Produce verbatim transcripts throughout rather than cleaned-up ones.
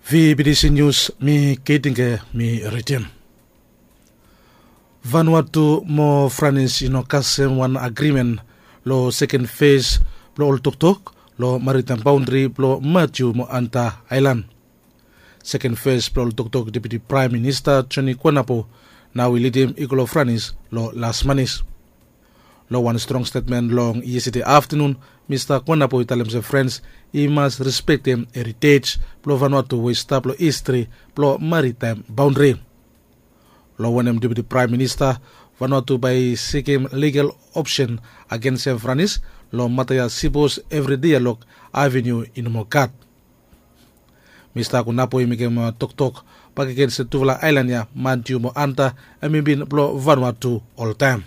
V B T C News, mi Keitinge, mi ridim. Vanuatu mo Franis i no kasem wan agrimen lo seken fes blo ol toktok lo maritaem baondri blo Matiu mo Anta Aelan. Seken fes blo ol toktok Deputi Praem Minista Joni Kuanapo nao i lidim i go lo Franis lo las manis. Lo wan strong stetmen long yestede aftanun, Mista Kuanapo i talem se Frans i mas respektem eritej blo Vanuatu we i stap lo histri blo maritaem baondri. Lo wanem Deputi Praem Minista, Vanuatu bae i sikim ligal opsen agensem Franis lo mata ya sipos evri dialog avenu i no moa gat. Mista Kuanapo i mekem toktok bakegen se tufala aelan ya, Matiu mo Anta, hemi bin blo Vanuatu oltaem.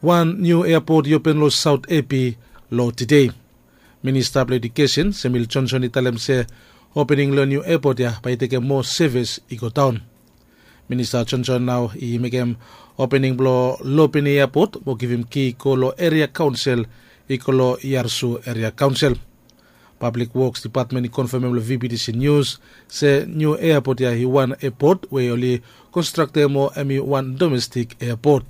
Wan niu eapot i open lo Saot Epi lo tede. Minista blo Ejukesen Samuel Johnson i talem se opening lo niu eapot ya bae i tekem moa sevis i godaon. Minista Johnson nao i mekem opening blo Lopini Eapot mo givim ki go lo eria kaonsel i go lo Yarsu Eria Kaonsel. Pablik Woks Dipatmen i konfamem lo V B T C Nius se niu eapot ya i wan eapot we oli konstraktem mo hemi wan domestik eapot.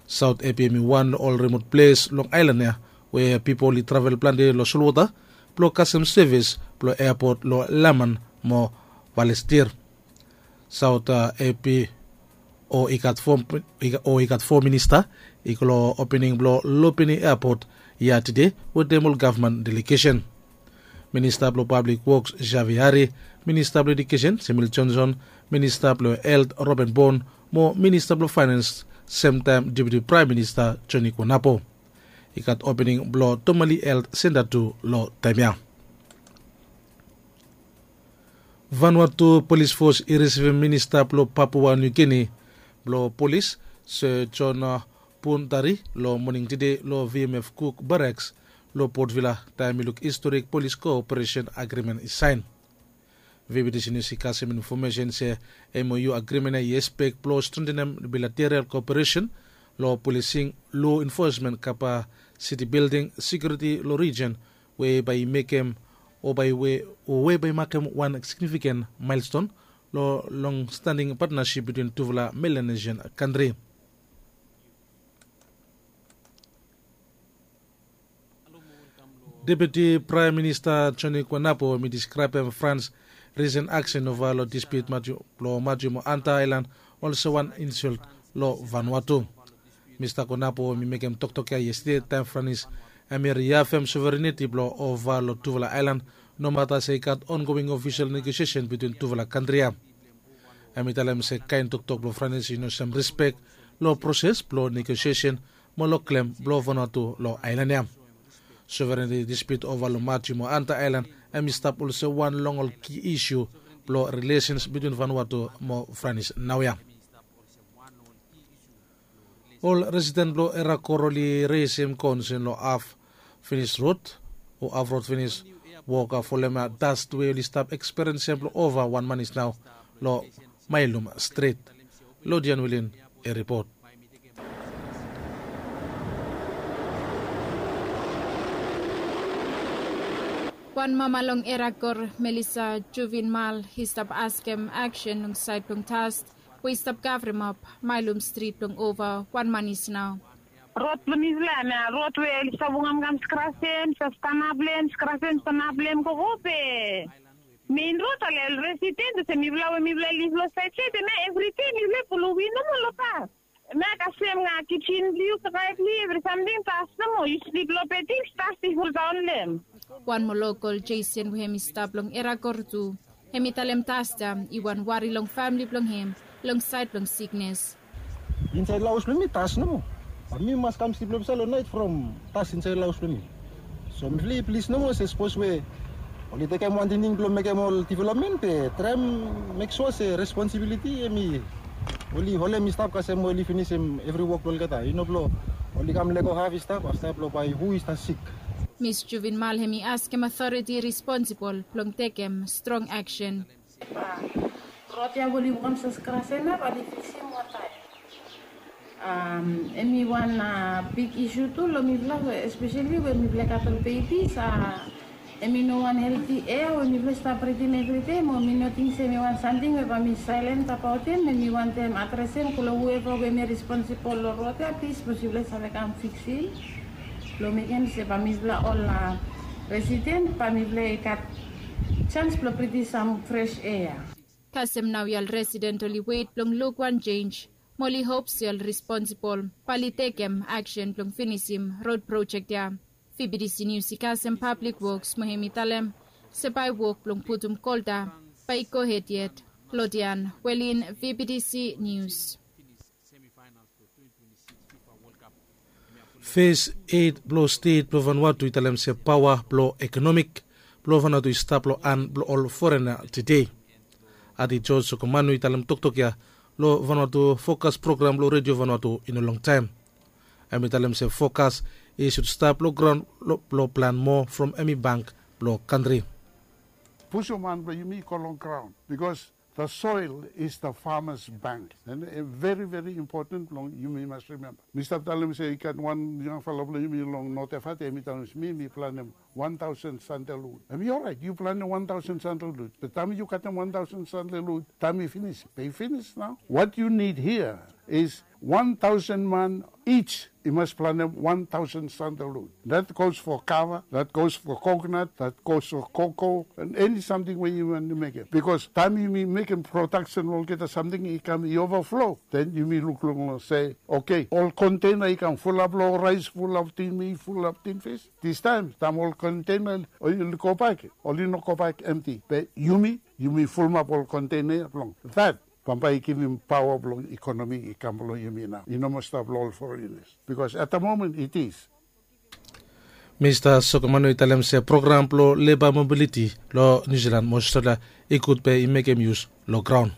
Saot Epi hemi wan lo ol rimot ples long aelan ya we pipol i travel plante lo solwota blo kasem sevis blo eapot lo Laman mo Valestir. Saot Epi o i gat fo minista i go lo opening blo Lopini Eapot ya tede wetem ol gavman delegesen. Minista blo Pablik Woks Xavier Hari, Minista blo Ejukesen Samuel Johnson, Minista blo Helt Robin Bon mo Minista blo Faenans, semtaem Deputi Praem Minista Joni Kuanapo. I gat opening blo Tomali Helt Senta tu lo taem ya. Vanuatu Polis Fos i risivim Minista blo Papua Niu Gini blo Polis, Sir John Puntari, lo moning tede lo V M F Cook Barracks lo Port Vila, taem i luk historik polis koperesen agrimen i saen. V B T C Nius i kasem infomesen se M O U agrimen ya i ekspek blo strentenem bilateral koperesen lo polising, lo enfosmen, kapasiti bilding, sekiuriti lo rijen, we bae i mekem o bae we o we bae i makem wan signifiken maelston lo longstaning patnasip bitwin tufala Melanesian kantri. Deputi Praem Minista Joni Kuanapo hemi diskraebem Frans risen aksen ova lo dispiut blo Matiu mo Anta Aelan olsem wan insolt lo Vanuatu. Mista Kuanapo hemi mekem toktok ya yestede taem Franis hemi riafem sovereniti blo ova lo tufala aelan, nomata se i gat ongoing ofisol negosiesen bitwin tufala kantri ya. Hemi talem se kaen toktok blo Franis i no sem rispek lo proses blo negosiesen mo lo klem blo Vanuatu lo aelan ya. Sovereniti dispiut ova lo Matiu mo Anta Aelan hemi stap olsem wan long ol ki isu blo rilesens bitwin Vanuatu mo Franis naoia. Ol residen blo Erakor oli resem konsen lo haf finis rod o haf rod finis woka folem das we oli stap ekspiriensem blo ova wan manis nao lo Mailum Strit. Lodian Wilin i ripot. Wan mama long Erakor, Melissa Juvinmal, i stap askem aksen long saed blong dast we i stap kavremap Mailum Strit blong ova wan manis nao. Rod blong mifala ya, rod we oli stap wokamkam skrasem, stap stanap long hem, skrasem, stanap long hem, gogo be. Mein rod, ale ol residen olsem mifala we mifala liv long saed saed ya, evri dei mifala pulum win nomo long pas. Hemia kasem nao kijen blong yu, kakae blong yu, evri samting das nomo, yu slip long bed, das i foldaon long hem. Wan moa lokol, Jason, we hemi stap long Erakor tu, hemi talem das ya i wan wari long famle blong hem long saed blong siknes. Insaed long haos blong mi das nomo. Bat mi mas kam slip long hemia long naet from das insaed long haos blong mi. So mifala i plis nomo se sapos we oli tekem wan tingting blong mekem ol developmen, be traem mek sua se responsibiliti hemi oli holem i stap kasem we oli finisim evri wok blong olgeta, i no blong oli kam lego haf i stap afta blong bae hu i stap sik. Mis Juvinmal hemi askem aotoriti responsibol blong tekem strong aksen. Rod ya we oli wokamsem skrasem ya bae oli fiksim wata ya. Hemi wan big isu tu long mifala, espeseli we mifala i gat ol bebis, a Em i no wan helti ea we mifala i stap britim evridei, mo mi no ting se em i wan samting we bae mi saelen abaot em. Em i wantem adresem long whoever we em i responsibol long rod ya, plis, bikos yufala i save kam fiksim blong mekem se bae mifala ol residen bae mifala i gat sans blong britim sam fres ea. Kasem nao ya ol residen oli wet blong luk wan jenj, mo oli hop se ol responsibol bae oli tekem aksen blong finisim rod projek ya. Vbtc Nius i kasem Pablik Woks mo hem i talem se bae wok blong putum kolta bae i gohed yet. Klodian Welin, Vbtc Nius. Fes eit blong stet blong Vanuatu i talem se paoa blong ekonomik blong Vanuatu i stap long han blong ol forena tede. Ati George Sokomanu i talem toktok ya long Vanuatu Fokas program blong Redio Vanuatu i no longtaem. Hem i talem se fokas i sud stap long graon blong plan moa from hem i bank blong kantri. Pusum han blong yumi i go long graon, bikos the soil is the farmer's bank. And a very, very important blong yumi mas rimemba. Mi stap talem se i gat wan yangfala blong yumi long North Efate, hem i talem se mi, mi planem wan taosen sandelwud. Hem i oraet, yu planem wan taosen sandelwud. Be taem yu katem wan taosen sandelwud, taem i finis, be i finis nao. What you need here is wan taosen man each i mas planem wan taosen sandelwud. That goes for kava, that goes for coconut, that goes for cocoa, and eni samting we yu wantem mekem. Bikos taem yumi mekem prodaksen, olgeta samting i kam i ovaflo, then yumi lukluk long se, okay, ol konteina i kam fulap long raes, fulap tin mit, fulap tin fis. Distaem, taem ol konteina oli gobak, oli no gobak emti. Be yumi, yumi fulumap ol konteina ya blong that. Bambae i givim paoa blong ekonomi i kam long yumi nao. I no moa stap long ol forenas. Bikos at the moment it is. Mista Sokomanu i talem se program blong leba mobiliti long Niu Silan mo Australia i gud be i mekem yus long graon.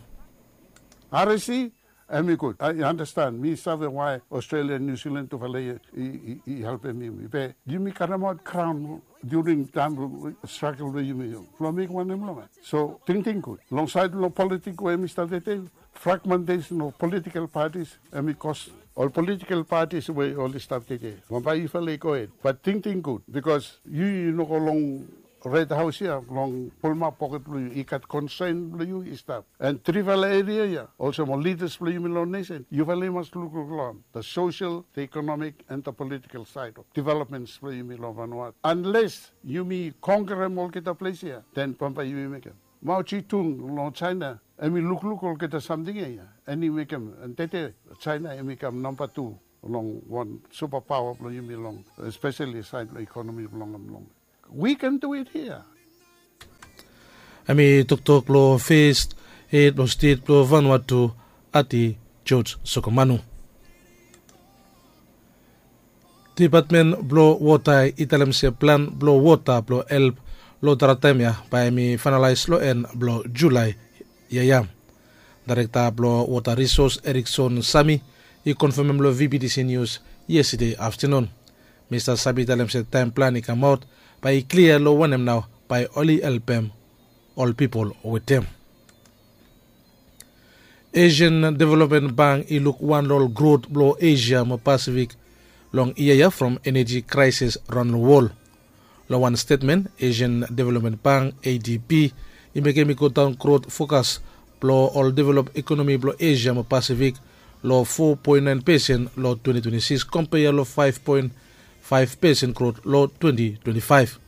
R S C, hem i gud. I understand. Mi save why Australia, Niu Silan tufala i, i, i, i helpem yumi. Be yumi karemaot graon during taem stragel we yumi blong mekem wanem long hem. So tingting gud. Long saed blong politik we mi stap tede, fragmentation of political parties, hem i kos ol political parties we oli stap tede. Bambae yufala i gohed. But tingting gud, bikos yu, yu no go long Red Haos ya blong pulumap poket blong yu. I gat konsen blong yu i stap. And trifala eria ya, olsem ol lidas blong yumi long nesen, yufala i mas lukluk long the social, the economic and the political side of developments blong yumi long Vanuatu. Unless yumi konkerem olgeta ples ya, then bambae yumi mekem. Mao Zedong long Jaena, hem i lukluk olgeta samting ya, ya, and i mekem, and tede Jaena hem i kam namba tu long wan supapaoa blong yumi long, espeseli saed blong ekonomi blong hem long. We can do it here. Hem i toktok blong fes hed blong stet blong Vanuatu, Ati George Sokomanu. Depatmen blong Wota i talem se plan blong wota blong help long drai taem ya bae hem i faenalaes long en blong Julae yia ya. Daerekta blong Wota Risos, Erikson Sami, i konfamem long V B T C Nius yestede aftenun. Mista Sami i talem se taem plan i kamaot bae i klia long wanem nao bae oli helpem ol pipol wetem. Asian Development Bank i luk wan long ol grot blong Asia mo Pasifik long yia ya from eneji kraesis raon long wol. Long wan stetmen, Asian Development Bank, A D B, i mekem i godaon grot fokas blong ol develop ekonomi blong Asia mo Pasifik long fo poen naen pesen long twenti twenti sikis, kompea long faef poen faef pesen grot long twenti twenti faef.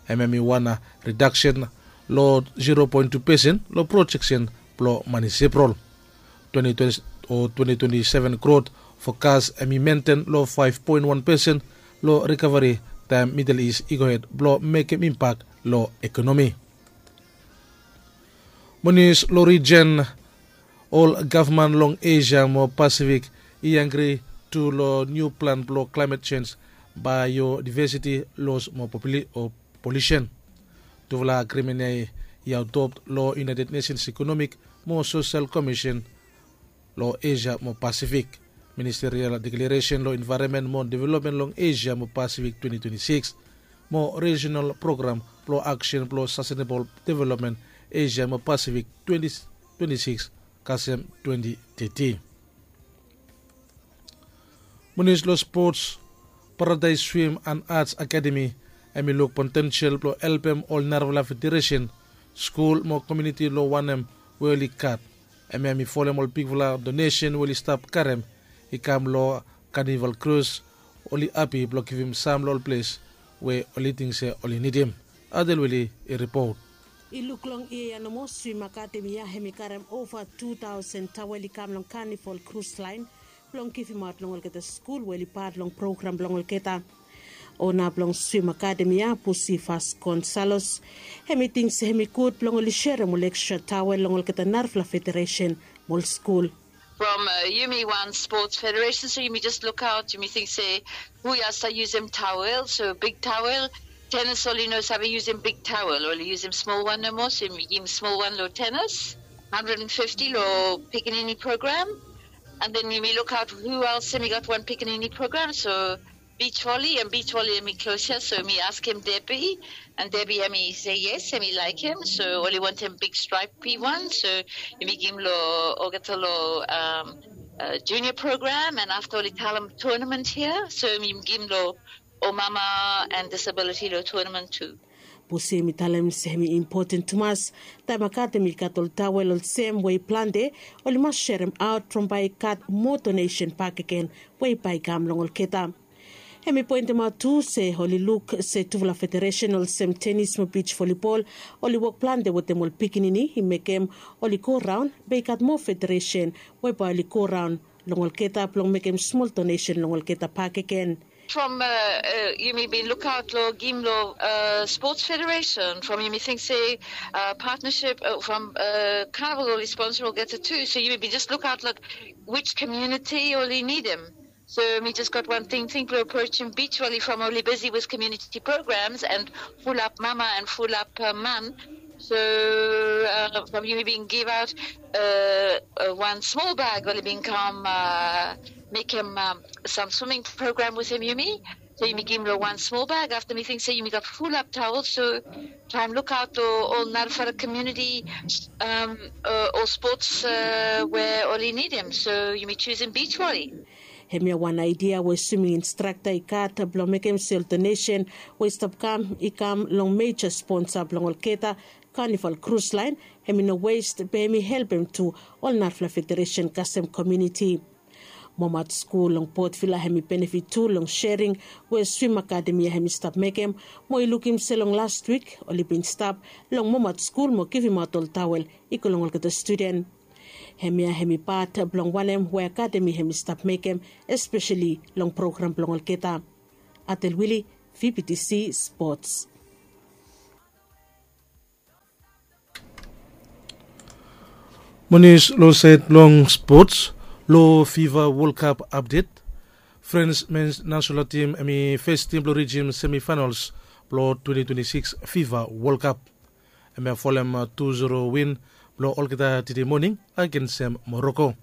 Hem hem i wan ridaksen long zero poen tu pesen long projeksen blong manis Epril. Twenti twenti o twenti twenti seven grot fokas hem i menten long faef poen wan pesen long rikaveri taem Midel Is i gohed blong mekem impak long ekonomi. Mo nius long rijen, ol gavman long Asia mo Pasifik i angri tu long niu plan blong klaemet jenj, baeodivesiti los mo populi o polusen. Tufala agrimen ya i adopt long United Nations Economic mo Sosel Komisen long Asia mo Pasifik, Ministerial Deklaresen long Envaeronmen mo Developmen long Asia mo Pasifik twenti twenti sikis, mo Rijenal Program blong Aksen blong Sastenebol Developmen Asia mo Pasifik twenti twenti sikis kasem twenti teti. Mo nius long spots, Paradaes Swim and Arts Akademi Hem i luk potensel blong helpem ol narafala federesen, skul mo komiuniti long wanem we oli gat. Hemia hem i folem ol bigfala donesen we oli stap karem i kam long kanival krus. Oli hapi blong givim sam long ol ples we oli ting se oli nidim. Adelwili i ripot. I luk long yia ya nomo swim akademi ya hem i karem ova tu taosen tawel i kam long kanival krus laen blong givimaot long olgeta skul we oli pat long program blong olgeta. Ona blong swim akademi ya pusi fas gonsalos, hem i ting se hem i gud blong oli serem ol ekstra tawel long olgeta narafala federesen mo ol skul. From yumi wan spots federesen so yumi jes lukaot yumi ting se hu ya save yusum tawel so big tawel. Tenis oli no save yusum big tawel oli yusum smol wan nomo so yumi givim smol wan long tenis, handred and fifti long pikinini program. And then yumi lukaot hu els hem i gat wan pikinini program so beach volley and beach volley hem i klos ya so mi askem debi. And debi hem i se yes hem i laekem so oli wantem big stripe pi wan so yumi givim long olgeta long junior program and afta oli talem tonament hia so yumi givim long ol mama and disabiliti long tonament tu. Pusi hem i talem se hem i impoten tumas taem akademi i gat ol tawel olsem we i plante oli mas serem aot from bae i gat moa donesen bakegen we i bae i kam long olgeta. Hem i poentemaot tu se oli luk se tufala federesen olsem tenis mo bij volibol oli wok plante wetem ol pikinini i mekem oli go raon be i gat moa federesen we bae oli go raon long olgeta blong mekem smol donesen long olgeta bakegen. From yumi bin lukaot long gim long sports federation from yumi ting se partnership from carnival oli sponsor olgeta tu so yumi bin jes lukaot long which community oli nidim. So mi jes gat wan tingting blong aproachim beach volley from oli bisi with community programs and fulap mama and fulap man. So from yumi bin givaot wan smol bag oli bin kam mekem sam swimming program wetem yumi. So yumi givim long wan smol bag afta mi ting se yumi gat fulap tawel so traem lukaot long ol narafala komuniti ol spots we oli nidim so yumi jusim beach volley. Hemia wan aidia we swiming instrakta i gat blong mekem se ol donesen we i stap kam i kam long meja sponsa blong olgeta kanival krus laen. Hem i no west be hem i helpem tu ol narafala federesen kasem komiuniti. Momat skul long potvila hem i benefit tu long sering we swim akademi ya hem i stap mekem mo i lukim se long last wik oli bin stap long momat skul mo givimaot ol tawel i go long olgeta studen. Hemia hem i pat blong wanem we akademi hem i stap mekem espeseli long program blong olgeta. Atel wili, vptc spots. Monis long saed blong spots long fiva wolkap apdet. Frens mens nasional tim hem i fes tim blong rijim semifainals blong twenti twenti sikis fiva wolkap. Hem i folem tu zero win blong olgeta tide moning agensem moroko.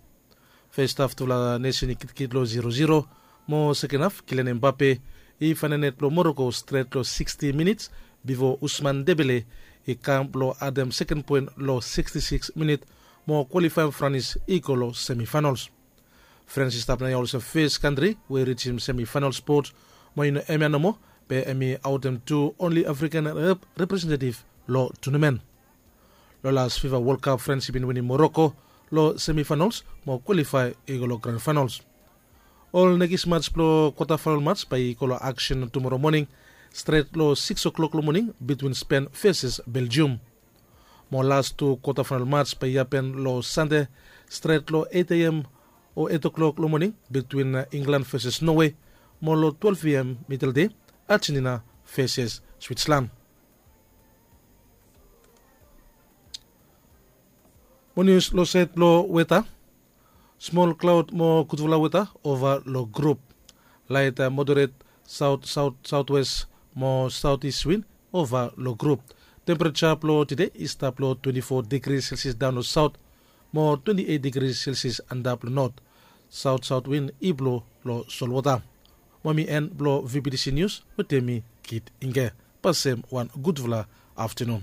Fes haf tufala nesen i kitkit long zero zero mo seken haf kilian embape i faenem net blong moroko stret long siksti minits bifo usman debele i kam blong adem seken poen long siksti sikis minit mo kwalifaem franis i go long semifainals. Frens i stap naoia olsem fes kantri we i rijim semifainals spot mo i no hemia nomo be hem i aotem tu onli afrikan representetif long tunamen. Long las fifa wolkap frens i bin winim moroko long semifainals mo kwalifae i go long gran fainals. Ol nekis mats blong kwatafainal mats bae i go long aksen tumoro moning stret long sikis oklok long moning bitwin spen veses beljium. Mo las tu kwatafainal mats bae i hapen long sande stret long eit a m o eit oklok long moning bitwin inglan veses nowe mo long twelef a m midel dei, ajenina veses switslan. Mo nius long saed blong weta. Smol klaod mo gudfala weta ova long grup. Laet moderet saot saot saotwes mo saotis win ova long grup. Tempereja blong tide i stap long twenti fo digri selsias daon long saot mo twenti eit digri selsias antap long not. Saot saot win i blo long solwota. Mo mi en blong vptc nius wetem mi kit ingge. Pasem wan gudfala aftenun.